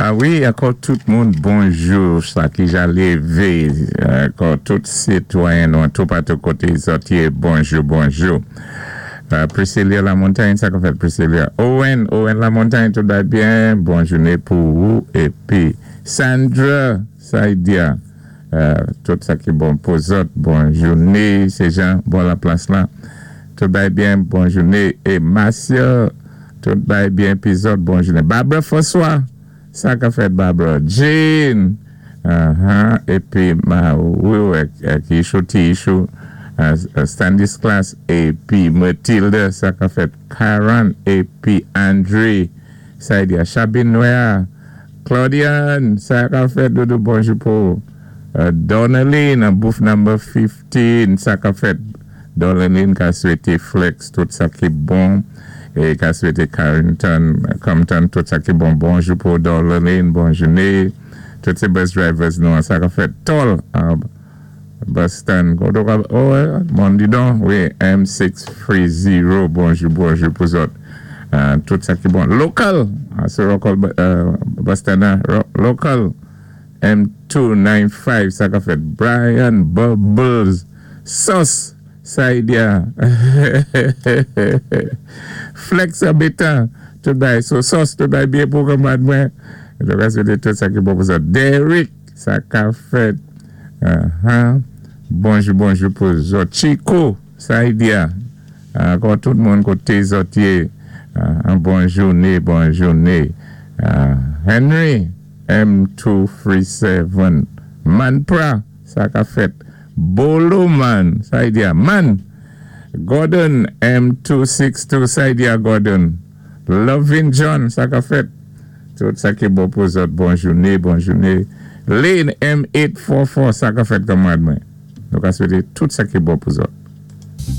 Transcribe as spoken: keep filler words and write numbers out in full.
Ah wi, ankò tout moun, bonjou, sa ki ja lévé, ankò tout sitwayen nou tou patou koté zòt yé, bonjou, bonjou. Euh, Priscilla Lamontagne, sa ka fèt Priscilla. Owen, Owen Lamontagne, tout va byen, bon jouné pou ou. Épi Sandra Saidia, euh, tout sa ki bon pou zòt, bon jouné, sé Jean, bon la plas la. Tout va byen, bon jouné. É Marcia, tout va byen, pi zòt, bon jouné. Barbara François, sa ka fèt Barbara. Jane, uh-huh. Épi, ma, wi, wi, ki Issue, T Issue, uh, Standis Class, épi Matilda, sa ka fèt Karen, épi André, Saidia, Chabine Noir, Claudiane, sa ka fèt Doudou, bonjou pou uh, Donaline, booth number fifteen, sa ka fèt Donaline ka swété Flex, tout sa ki bon, é ka swété Carrington, Compton, tout sa ki bon, bonjou pou Donaline, bon jouné, tout sé bus drivers nou, sa ka fèt Tol, uh, bus stand, oh, Mondidon, wi, M six three zero, bonjou, bonjou pou zòt. Uh, tout sa ki bon. Local, sé local uh, bus stand, local, M two nine five, sa ka fèt Brian Bubbles, Sauce, Saidia, Flex Habitant, tout bay, so sauce, tout bay byen pou kanmad mwen. Donk, sé tout sa ki bon pou sa. Derek, sa ka fèt. Uh-huh. Bonjou, bonjou pou zòt. Chico, Saidia, ankò tout moun koté zòt yé, an bon jouné, bon jouné. Henry, M two three seven. Manpra, sa ka fèt. Bolo Man, Saidia. Man, Gordon, M two six two, Saidia Gordon. Lovin John, sa ka fèt. Tout sa ki bon pou zòt, bon jouné, bon jouné. Lane M eight four four, sa ka fèt kanmad mwen. Nou ka swété tout sa ki bon pou zòt.